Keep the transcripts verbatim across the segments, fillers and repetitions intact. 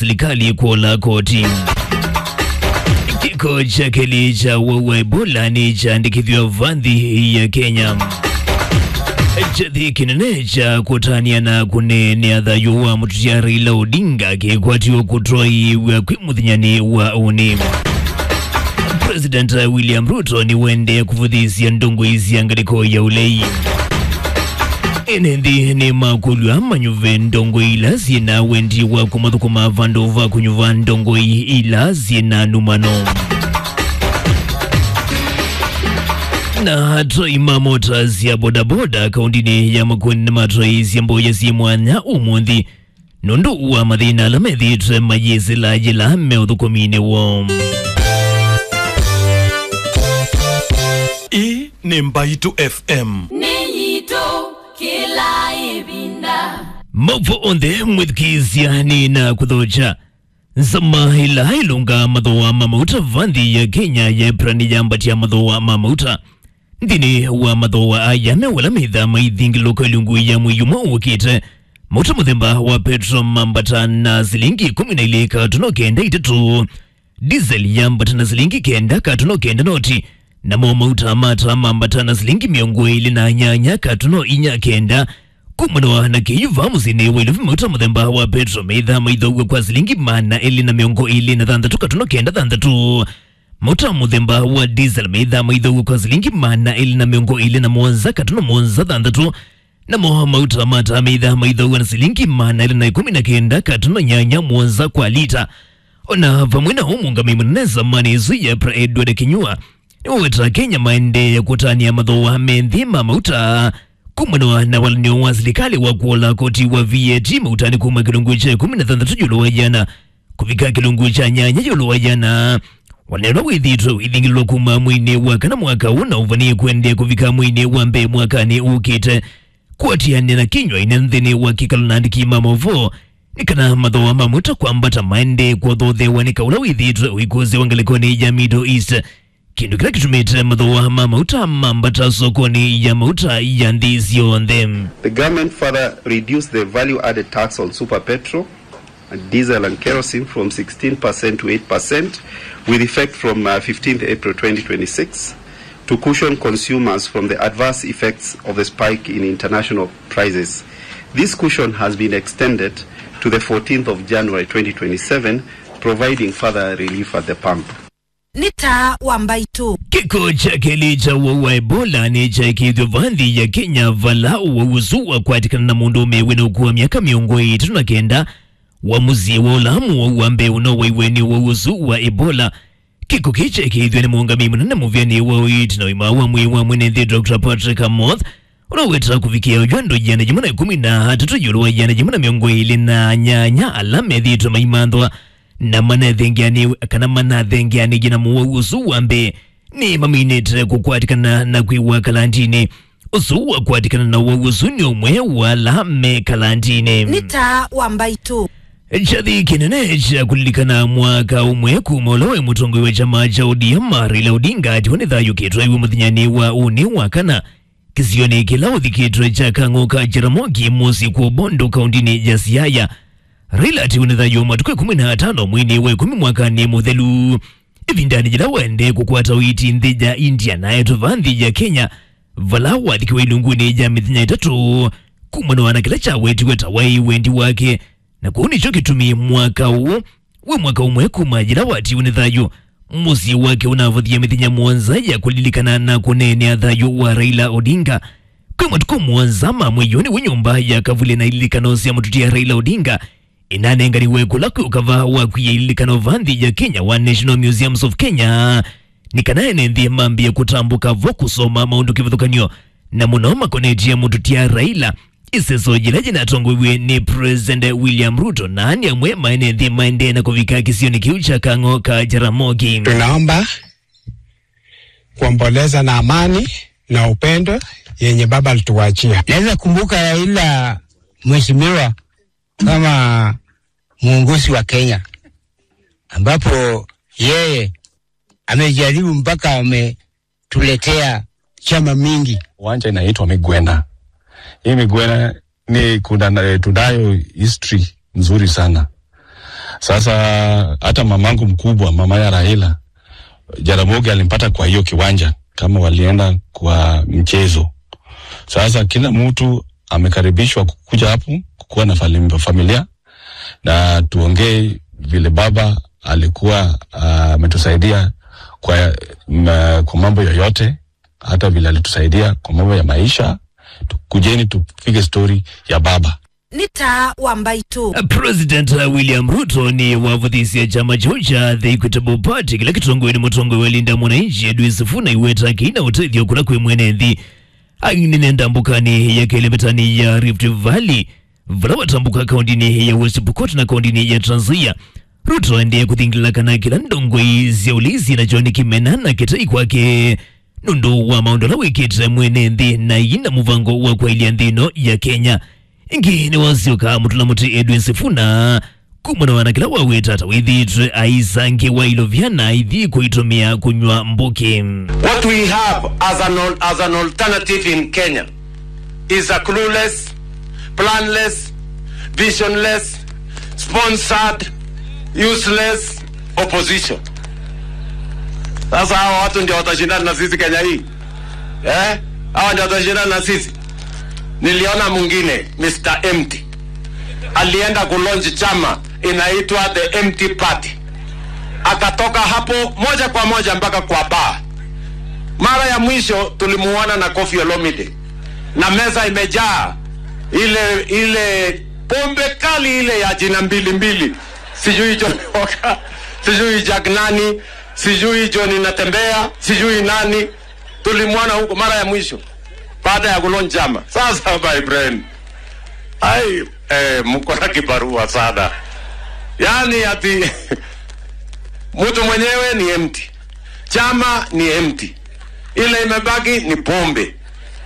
silikalĩ kwola koti. Kĩko kya kelĩ kya ũwau wa Ebola nĩkyaandĩkĩthw'a va nthĩ ya Kenya. Kyathĩ kĩnene kya kũtanĩa na kũneenea thayũ wa mũtũtia Raila Odinga kĩkwatiwe kũtwaĩĩw'a kwĩ mũthenyanĩ wa ũnĩ. President William Ruto nĩwendee kũvũthĩĩsya ndongoi sya ngalĩko ya ũlei. Ene nthĩ nĩmakũlw'a manyuve ndongoi ila syĩ na wendi wa kũmathũkũma vandũ va kũnyuva ndongoi ila syĩ na numano. Na atwai ma mota sya bodaboda kaũntĩnĩ ya Makueni nĩmatwaĩĩsye mboya syĩ mwanya ũmũnthĩ nũndũ wa mathĩna ala methĩĩtwe mayĩsĩla yĩla me ũthũkũminĩ woo. Ĩĩ nĩ Mbaitũ F M. Nĩ yitũ kĩla ĩvinda. Maũvoo onthe mwĩthukĩĩsya nĩ na kũthokya. Nzama ĩla ĩlũngaa mathooa ma mauta va nthĩ ya Kenya yeepra nĩyambatya mathooa ma mauta. Nthĩnĩ wa mathooa aya me ala methaa maithingĩlũka ĩlungu ya mwei ũmwe ũkĩte. Mauta mũthemba wa petro mambata na silingi ĩkũmi na ilĩ katuno kenda itatũ. Diesel yambata na silingi kenda katuno kenda noti. Namo mauta ma taa mambata na silingi mĩongo ĩlĩ na nyanya katuno inya kenda. Kumana na kĩu va mũsyĩnĩ wa Nairobi mauta mũthemba wa petro methaa maithooaw'a kwa silingi maana elĩ na mĩongo ĩlĩ na thanthatũ katuno kenda thanthatũ. Mauta mũthemba wa diesel methaa maithooaw'a kwa silingi maana elĩ na mĩongo ĩlĩ na mũonza katuno mũonza thanthatũ. Namo mauta ma taa methaa maithooaw'a na silingi maana elĩ na ĩkũmi na kenda katuno nyanya mũonza kwa lita. Ona vamwe na ũu, mũũngamĩi mũnene nzamanĩ ĩsu ya EPRA Edward Kinyua nĩwaweta Kenya maendee kũtanĩa mathooa me nthĩ ma mauta. Kumana na walany'o wa silikalĩ wa kwola koti wa V A T mautanĩ kuma kĩlungu kya ĩkũmi na thanthatũ ĩũlũ wa ĩana kũvika kĩlungu kya nyanya ĩũlũ wa ĩana. Walany'o ũla wĩthĩĩtwe ũithingĩlĩlwa kuma mweinĩ wa kana mwaka ũũ na ũvanie kũendeea kũvika mweinĩ wa mbee mwakanĩ ũkĩte. Kũatĩanĩa na Kinyua ĩnene nthĩnĩ wa kĩkalo na andĩki ma maũvoo nĩ kana mathooa ma mauta kwambata maendee kũthothewa nĩ kaũ ũla wĩthĩĩtwe ũikũsĩwa ngalĩkonĩ ya Middle East, kĩndũ kĩla kĩtumĩte mathooa ma mauta mambata sokonĩ ya mauta ya nthĩ syonthe. The government further reduced the value added tax on super petrol, diesel and kerosene from sixteen percent to eight percent, with effect from, uh, fifteenth April twenty twenty-six, to cushion consumers from the adverse effects of the spike in international prices. This cushion has been extended to the fourteenth of January twenty twenty-seven, providing further relief at the pump. Nĩ taa wa Mbaitũ. Kĩko kya kelĩ kya ũwau wa Ebola nĩkyaĩkĩĩthw'e va nthĩ ya Kenya, vala ũwau ũsu wakwatĩkana na mũndũũme wĩna ũkũũ wa myaka mĩongo ĩtatũ na kenda wa mũsyĩ wa ũla mũwau wa mbee ũnowaiwe nĩ ũwau ũsu wa Ebola. Kĩko kĩĩ kyaĩkĩĩthw'e nĩ mũũngamĩi mũnene mũvĩanĩ wa ũiiti na ũima wa mwĩĩ wa mwene nthĩ, Doctor Patrick Amoth, ũla ũweta kũvikĩa oyu andũ ĩana yĩmwe na ĩkũmi na atatũ ĩũlũ wa ĩana yĩmwe na mĩongo ĩlĩ na nyanya ala methĩĩtwe maimanthwa na manathengeanĩ-, kana manathengeanĩie na mũwau ũsu wa mbee nĩmaminĩte kũkwatĩkana na kwĩw'a kalandinĩ. Ũsu wakwatĩkana na ũwau ũsu nĩ ũmwe wa ala me kalandinĩ. Nĩ taa wa Mbaitũ. Kyathĩ kĩnene kya kũlilikana mwaka ũmwe kuma ũla waĩ mũtongoi wa kyama kya O D M Raila Odinga atiwa nĩ thayũ kĩtwaiwe mũthenyanĩ wa ũnĩ wa kana kĩsionĩ kĩla ũthikĩtwe kya Kang'o ka Jaramogi mũsyĩ kwa Bondo kaũndinĩ ya Siaya. Raila atiwa nĩ thayũ matukũ ĩkũmi na atano mweinĩ wa ĩkũmi mwakanĩ mũthelu, ĩvindanĩ yĩla waendee kũkwata ũiiti nthĩ ya India na etwe va nthĩ ya Kenya, vala wathikiwe ilungunĩ ya mĩthenya ĩtatũ kumana na kĩla kyawetiwe ta waĩ wendi wake. Na kũu nĩkyo kĩtumi mwaka ũũ wĩ mwaka ũmwe kuma yĩla watiwe nĩ thayũ, mũsyĩ wake ũnavũthie mĩthenya mũonza ya kũlilikana na kũneenea thayũ wa Raila Odinga. Kwĩ matukũ mũonza ma mwei ũyũ nĩw'o nyũmba ya kavuli na ililikano sya mũtũtia Raila Odinga ĩnanenganiwe kũla kwĩ ũkava wa kwia ililikano va nthĩ ya Kenya wa National Museums of Kenya, nĩ kana ene nthĩ mambĩe kũtambũka vo kũsoma maũndũ kĩvathũkany'o, na mũno makonetye mũtũtia Raila. Ĩseso yĩla yĩnatongoiw'e nĩ President William Ruto na ani amwe ma ene nthĩ maendee na kũvika kĩsionĩ kĩu kya Kang'o ka Jaramogi. Tunaomba kuomboleza na amani na upendo yenye baba alituachia. Naweza kumbuka Raila, mheshimiwa, kama mwongozi wa Kenya, ambapo yeye amejaribu mpaka ametuletea chama mingi. Uwanja inaitwa Migwena. Hii Migwena ni kuna, eh, tunayo history nzuri sana. Sasa hata mamangu mkubwa, mama ya Raila, Jaramogi alimpata kwa hiyo kiwanja kama walienda kwa mchezo. Sasa kila mtu amekaribishwa kukuja hapo kukuwa na fali-, familia, na tuongee vile baba alikuwa, ah, ametusaidia kwa, ma-, kwa mambo yoyote, hata vile alitusaidia kwa mambo ya maisha. Tukujeni tupige story ya baba. Nĩ taa wa mbaitũ. President William Ruto nĩwavũthĩsye kyama kyaũ kya The Equitable Party kĩla kĩtongoew'e nĩ mũtongoi wa Linda Mwananchi Edwin Sifuna iweta kĩna ũtethyo kũla kwĩ mwene nthĩ. Ainene ndambũkanĩ ya kelĩ mĩtaanĩ ya Rift Valley, vala watambũka kaũndĩnĩ ya West Pokot na kaũndĩnĩ ya Trans Nzoia. Ruto aendee kũthingĩlĩla kana kĩla ndongoi sya ũlei syĩ nakyo nĩ kĩmena na kĩtai kwake nũndũ wa maũndũ ala wĩkĩte mwene nthĩ na ĩna mũvango wa kwaĩlya nthĩ ĩno ya Kenya. Ĩngĩ nĩwasyoka mũtũla mũtĩ Edwin Sifuna kumana na kĩla waweta ta wĩthĩĩtwe aisangĩwa ilovya na aithi kũitũmĩa kũnyw'a mbũkĩ. What we have as an al-, as an alternative in Kenya is a clueless, planless, visionless, sponsored, useless opposition. Sasa hawa watu ndio watashindana na sisi Kenya hii? Eh? Hawa ndio watashindana na sisi? Niliona mwingine, Mister Empty. Alienda kulaunch chama inaitwa The Empty Party. Akatoka hapo moja kwa moja mpaka kwa bar. Mara ya mwisho tulimuona na Koffi Olomide. Na meza imejaa ile, ile pombe kali ile ya jina mbili mbili. Sijui Johnny Walker, sijui Jack nani, sijui Johnny Natembea, sijui nani. Tulimwona huko mara ya mwisho baada ya kulaunch chama. Sasa, my friend, ai, eh, mko na kibarua sana. Yaani ati mtu mwenyewe ni empty. Chama ni empty. Ile imebaki ni pombe.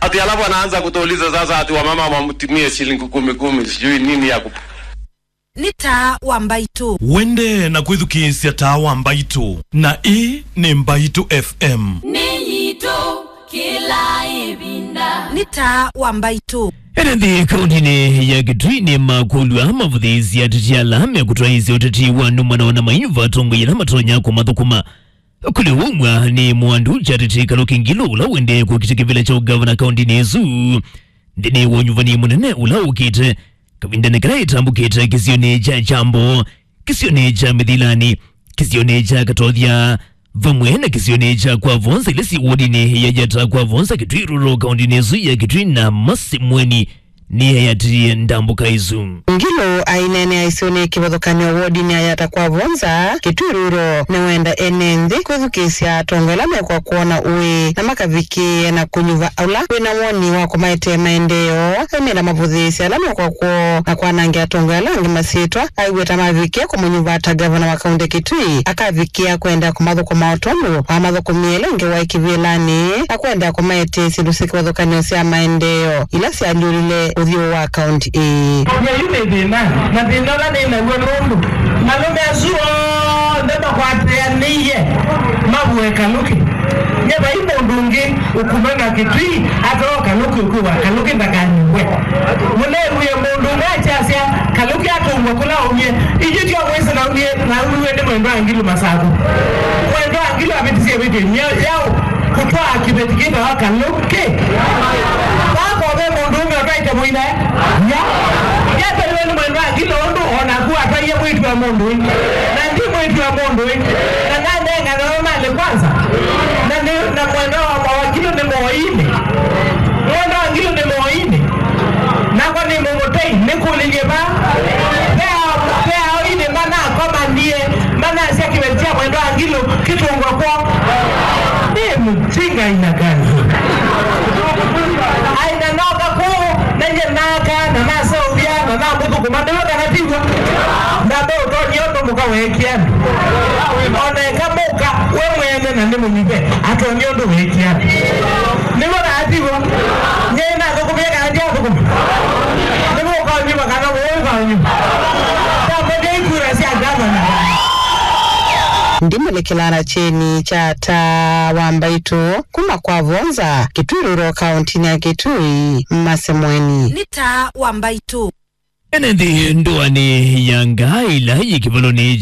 Ati alafu anaanza kutuuliza sasa ati wamama wamtumie shilingi kumi kumi, sijui nini ya kup- Nĩ taa wa mbaitũ. Wende na kwĩthukĩĩsya taa wa mbaitũ, na ĩĩ nĩ Mbaitũ F M. Nĩ yitũ kĩla ĩvinda. Nĩ taa wa mbaitũ. Ene nthĩ kaũndĩnĩ ya Kitui nĩmakũlw'a mavũthĩĩsye ateti ala mekũtwaĩĩsya ũteti wa nũmano na maiva atongoi ala matonya kũmathũkũma. Kũlĩ ũmwe nĩ Mwandu Charity Kaluki Ngilu, ũla ũendee kũkita kĩvĩla kya ũgavana kaũndĩnĩ ĩsu. Nthĩnĩ wa ũnyuvani mũnene ũla ũkĩte, kavindanĩ kala ĩtambũkĩte kĩsionĩ kya Kyambo, kĩsionĩ kya Mĩthilani, kĩsionĩ kya Katothya, vamwe na kĩsionĩ kya Kwa Vonza, ila syĩ wodinĩ ya Yata Kwa Vonza, Kitui Rural, kaũndĩnĩ ĩsu ya Kitui na Masimweni, nĩyeeatĩĩe ndambũka ĩsu. Ngilu aineenea ĩsionĩ kĩvathũkany'o wodinĩ ya Yata Kwa Vonza, Kitui Rural, nĩwenda ene nthĩ kwĩthukĩĩsya atongoi ala mekw'a kwona ũĩ na makavikĩĩe na kũnyuva ũla wĩna woni wa kũmaetee maendeeo. Aumĩla mavũthĩĩsya ala mekw'a kwoo na kwanangĩa atongoi ala angĩ masyĩtwa, aiw'e ta mavikĩe kũmũnyuva ta ngavana wa kaũntĩ Kitui, akavikĩa kwenda kũmathũkũma o tondũ wamathũkũmie ĩla ĩngĩ waĩ kĩvĩlanĩ, na kwenda kũmaetee syĩndũ syĩ kĩvathũkany'o sya maendeeo ila syalyũlile ũthyũ wa kaũntĩ ĩĩ. Yĩu nĩ thĩna, na thĩna ũla nĩ naw'o nũndũ malũme asu onthe makwatĩanĩie mavue Kaluki. Nye vai mũndũ ũngĩ ũkumana Kitui atoo Kaluki ũkwĩwa Kaluki ndakanyuwe. Mũneewie mũndũ ũmwe akyasya Kaluki atũngwa kũla aumie. Iji tyo mwĩsĩ naumie, naumiwe nĩ Mwendwa Ngilu Masaku. Mwendwa Ngilu avĩtisye ĩvĩtyo ĩmya yaũ kũtwaa kĩveti kĩtawa Kaluki. Vaa ko ve mũndũ ũmwe ũtwaĩte mũinae? Ya. Yatwaiwe nĩ Mwendwa Ngilu ũndũ o naku atwaie mwĩĩtu wa mũndũ ũĩ. Na ndi mwĩĩtu wa mũndũ ũĩ. Na nanenga nawe malĩ kwanza. Na nĩ, na Mwendwa wa, wa Ngilu nĩ moinĩ. Mwendwa wa Ngilu nĩ moinĩ. Nakwa nĩ mũmũtei, nĩkũlilye va. Ve a-, ve aoinĩ manakomanie, manasya kĩveti kya Mwendwa wa Ngilu kĩtũngwa kwoo. Nĩ mjinga aina gani? Aina noka kũu, nenye naka, na naseũvya, na namũthũkũma, nĩwe kana tiw'o? Ndambe ũtonya ũndũ mũka weekie andũ. Ona eka mũka, we mwene na nĩ mũnyuve, atonya ũndũ weekie andũ. Nĩw'o kana tiw'o? Nyie nathũkũmie kana ndiathũkũma? Nĩw'o ũkanyuva kana ũũ ũkanyuva? Ndamũnge ikura sya gavana. Ndimũlĩkĩla na kyeni kya taa wa mbaitũ kuma Kwa Vonza, Kitui Rural, kaũntĩnĩ ya Kitui, Masemweni. Nĩ taa wa mbaitũ. Ene nthĩ ndũanĩ ya ngaa ila yĩ kĩvalonĩ kya